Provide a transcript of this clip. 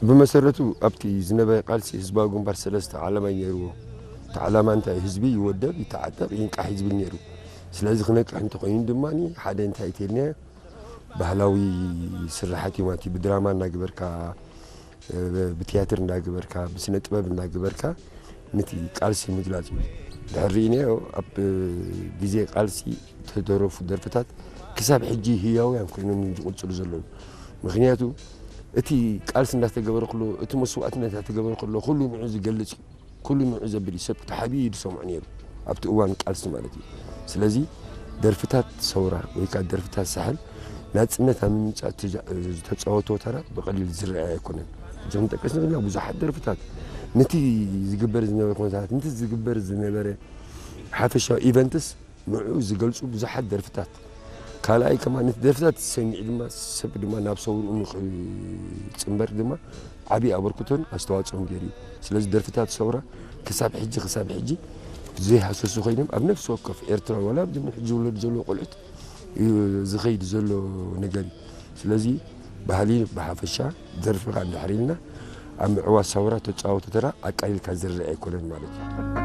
ብመሰረቱ ኣብቲ ዝነበረ ቃልሲ ህዝባዊ ግንባር ሰለስተ ዓላማ እዩ ነይርዎ። እቲ ዓላማ እንታይ? ህዝቢ ይወደብ፣ ይተዓጠቕ፣ ይንቃሕ እዩ ዝብል ነይሩ። ስለዚ ክነቅሕ እንተኾይኑ ድማ ሓደ እንታይ ተልናዮ? ባህላዊ ስራሓት እዮም። እቲ ብድራማ እናገበርካ፣ ብትያትር እናገበርካ፣ ብስነ ጥበብ እናገበርካ ነቲ ቃልሲ ምግላጽ እዩ። ድሕር ርኢናዮ ኣብ ግዜ ቃልሲ ዝተደረፉ ደርፍታት ክሳብ ሕጂ ህያውያን ኮይኖም እዮም ዝቕጽሉ ዘለዉ። ምክንያቱ እቲ ቃልሲ እንዳተገበረ ከሎ፣ እቲ መስዋእትነት እንዳተገበረ ከሎ ኩሉ ንዑ ዝገልጽ እዩ። ኩሉ ንዑ ዘብል እዩ። ሰብ ተሓቢኡ እዩ ዝሰምዖ ነይሩ ኣብቲ እዋን ቃልሲ ማለት እዩ። ስለዚ ደርፍታት ሰውራ ወይ ከዓ ደርፍታት ሳሕል ናጽነት ኣብ ምምጻእ ዝተጫወቶ ተራ ብቐሊል ዝረኣይ ኣይኮነን። ሕጂ ክንጠቅስ ንኽእል ኢና ብዙሓት ደርፍታት ነቲ ዝግበር ዝነበረ ኩነታት፣ ነቲ ዝግበር ዝነበረ ሓፈሻዊ ኢቨንትስ ንዕኡ ዝገልጹ ብዙሓት ደርፍታት። ካልኣይ ከማ ነቲ ደርፍታት ዝሰሚዕ ድማ ሰብ ድማ ናብ ሰውርኡ ንክጽንበር ድማ ዓብዪ ኣበርክቶን ኣስተዋፅኦን ገይሩ እዩ። ስለዚ ደርፍታት ሰውራ ክሳብ ሕጂ ክሳብ ሕጂ ዘይሃሰሱ ኮይኖም ኣብ ነፍሲ ወከፍ ኤርትራ ዋላ ኣብዚ ሕጂ ዝውለዱ ዘለዉ ቆልዑት እዩ ዝኸይድ ዘሎ ነገር እዩ። ስለዚ ባህሊ ብሓፈሻ ደርፊ ከዓ እንድሕር ኢልና ኣብ ምዕዋት ሰውራ ተፃወቱ ተራ ኣቃሊልካ ዝረአ ኣይኮነን ማለት እዩ።